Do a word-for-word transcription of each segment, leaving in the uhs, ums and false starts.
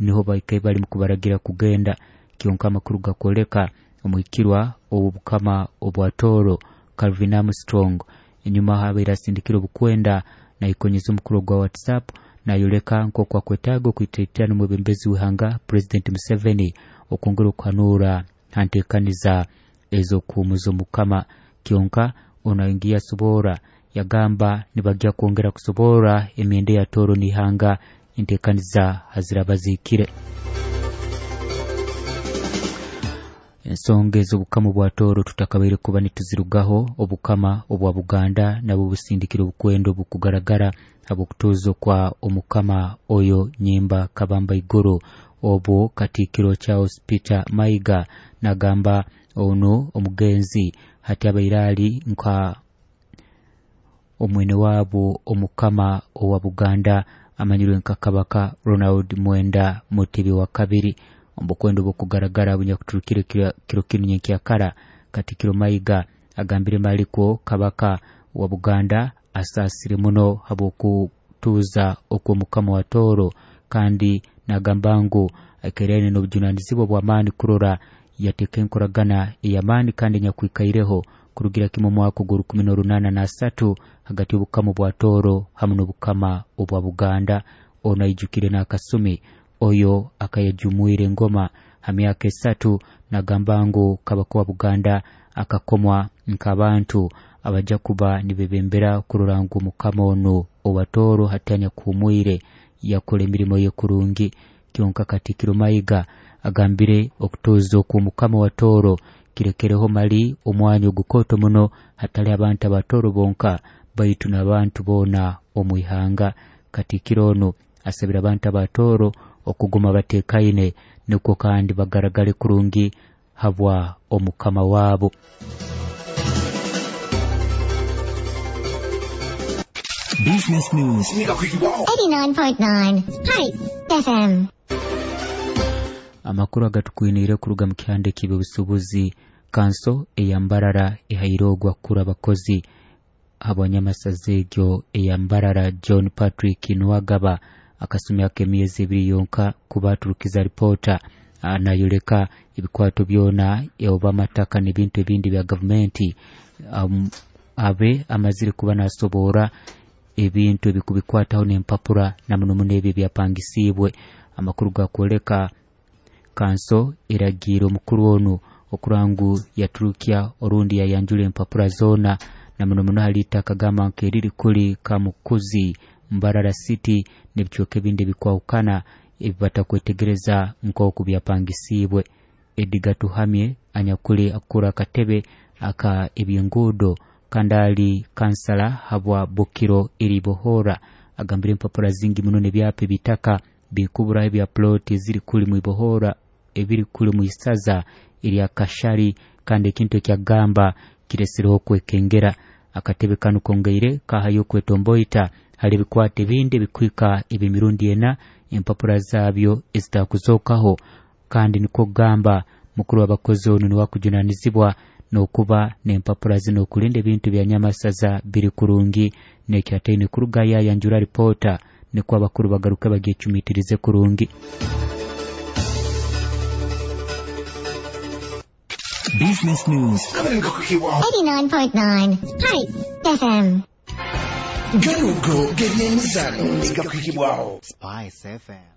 Niho baikaire bali kubaragira kugenda. Kyonka amakuru gakwoleka omuhikirwa ow'obukama obwa Tooro Calvin Armstrong enyuma habaire asindikire obukwenda naikonyeza omukuru gwa WhatsApp nayoleka nk'oku akwetaaga okwitaitana omwebembezi w'ihanga President Museveni okwongera okuhanura ha nteekaniza ez'okuhumuza omukama. Kyonka ono aingiye asobora yagamba nibagya kwongera kusobora emyenda ya Tooro n'ihanga enteekaniza haziraba zihikire. Ensonga ez'obukama bwa Tooro tutakabaire kuba nituzirugaho. Obukama obwa Buganda nabwo busindikire obukwenda obukugaragara habw'okutuuza kwa omukama oyo Nyimba Kabamba Iguru. Obwo Katikkiro Charles Peter Mayiga nagamba ono omugenzi hati abaire ali nka omwene waabo omukama owa Buganda amanyirwe nka Kabaka Ronald Mwenda Mutebi wa kabiri. Obukwenda obukugaragara bunyakuturukire kiro kinu nyenkyakara, Katikkiro Mayiga agambire malikwo Kabaka wa Buganda asaasire muno habw'okutuuza okw'omukama wa Tooro, kandi nagamba ngu aikaire n'obujunanizibwa bw'amaani kurora yateeka enkoragana ey'amaani kandi enyakwikaireho kurugira kimwe omwaka ogw'orukumi n'orunaana n'asatu hagati y'obukama bwa Tooro hamu n'obukama obwa Buganda. Ono aijukire n'akasumi oyo akayajumwire engoma ha myaka esatu, nagamba ngu Kabaka wa Buganda akakomwa nk'abantu abajja kuba nibebembera kurora ngu omukama ono owa Tooro hati anyakuhumwire yakora emirimo ye kurungi. Kyonka Katikkiro Mayiga agambire okutuuza okw'omukama wa Tooro kirekereho mali omwanya ogukooto muno hatali abantu aba Tooro bonka baitu n'abantu boona omu ihanga. Katikkiro ono asabire abantu aba Tooro okuguma bateekaine nukwo kandi bagaragale kurungi habwa omukama waabo. Business News eighty-nine point nine Spice F M. Amakuru agatukwiniire kuruga mu kihanda eky'ebyobusuubuzi, kanso eya Mbarara ehaire ogwa kukura abakozi habwanyamasaza egyo eya Mbarara John Patrick Nuwagaba akasumi ak'emyezi ebiri yonka kuba aturukiza ripoota nayoleka ebikwato byona oba amataka n'ebintu ebindi bya gavumenti. um, abe amazire kuba nasobora ebintu ebikubikwataho n'empapura na muno muno ebyo ebyapangisiibwe. Amakuru gakwoleka kanso eragiire omukuru onu okurangu yaturukya orundi yayanjula empapura zoona na muno muno hali itaka gamba nkeriri kuli Kamukuzi Mbarara City n'ebicweka ebindi ebikwahukana ebibatakwetegereza nk'oku byapangisiibwe. Edgar Tuhamye anyakuli akura akatebe aka ebyenguudo kandi ali kansala habwa Bukiro Iribohora agambire empapura zingi muno n'ebyapa ebitaka bikuburaho ebya ploti eziri kuli mu Ibohora ebiri kuli mu isaza erya Kashari, kandi ekintu ekyagamba kiresireho okwekengera. Akatebe kanu kongeire kahayo okwetomboita hali ebikwata ebindi ebikwika eb'emirundi ena empapura zaabyo ezitakuzokaho, kandi nikwo kugamba mukuru w'abakozi ono niwe akujunanizibwa n'okuba n'empapura zino okulinda ebintu bya nyamasaza biri kurungi. N'ekyataine kuruga yayanjura ripoota nikwo abakuru bagaruke bagyecumitirize kurungi. Business News eighty-nine point nine Spice F M. Garugo g'ebyemizano gakuhibwaho Spice F M.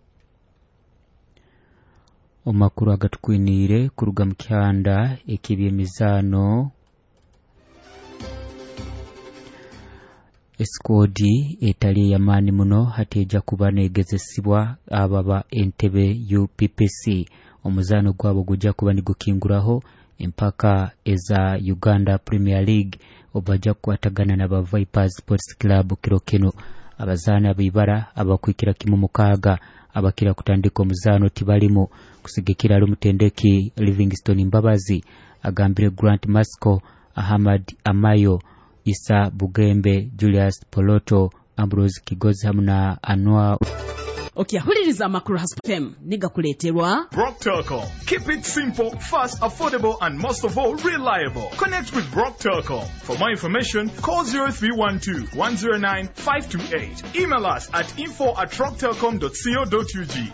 Omakuru agatukwiniire kuruga mu kihanda eky'ebyemizaano, esikoodi etali ey'amaani muno hati ejja kuba neegezesibwa ababa Entebbe U P P C. Omuzaano gwabo gujja kuba nigukinguraho empaka eza Uganda Premier League obajja kukwatagana n'aba Vipers Sports Club kiro kino. Abazaani abaibara abakwikira kimu mukaaga abakira kutandika omuzaano tibalimu kusigikira ali omutendeki Livingstone Mbabazi agambire Grant Masco, Ahmad Amayo, Isa Bugembe, Julius Poloto, Ambrose Kigozi hamu na Anwar. Okyahuliriza amakuru ha F M nigakuleeterwa Brock Telcom. Keep it simple, fast, affordable and most of all reliable. Connect with Brock Telcom. For more information, call zero three one two, one zero nine, five two eight. Email us at info at rocktelcom dot co dot U G.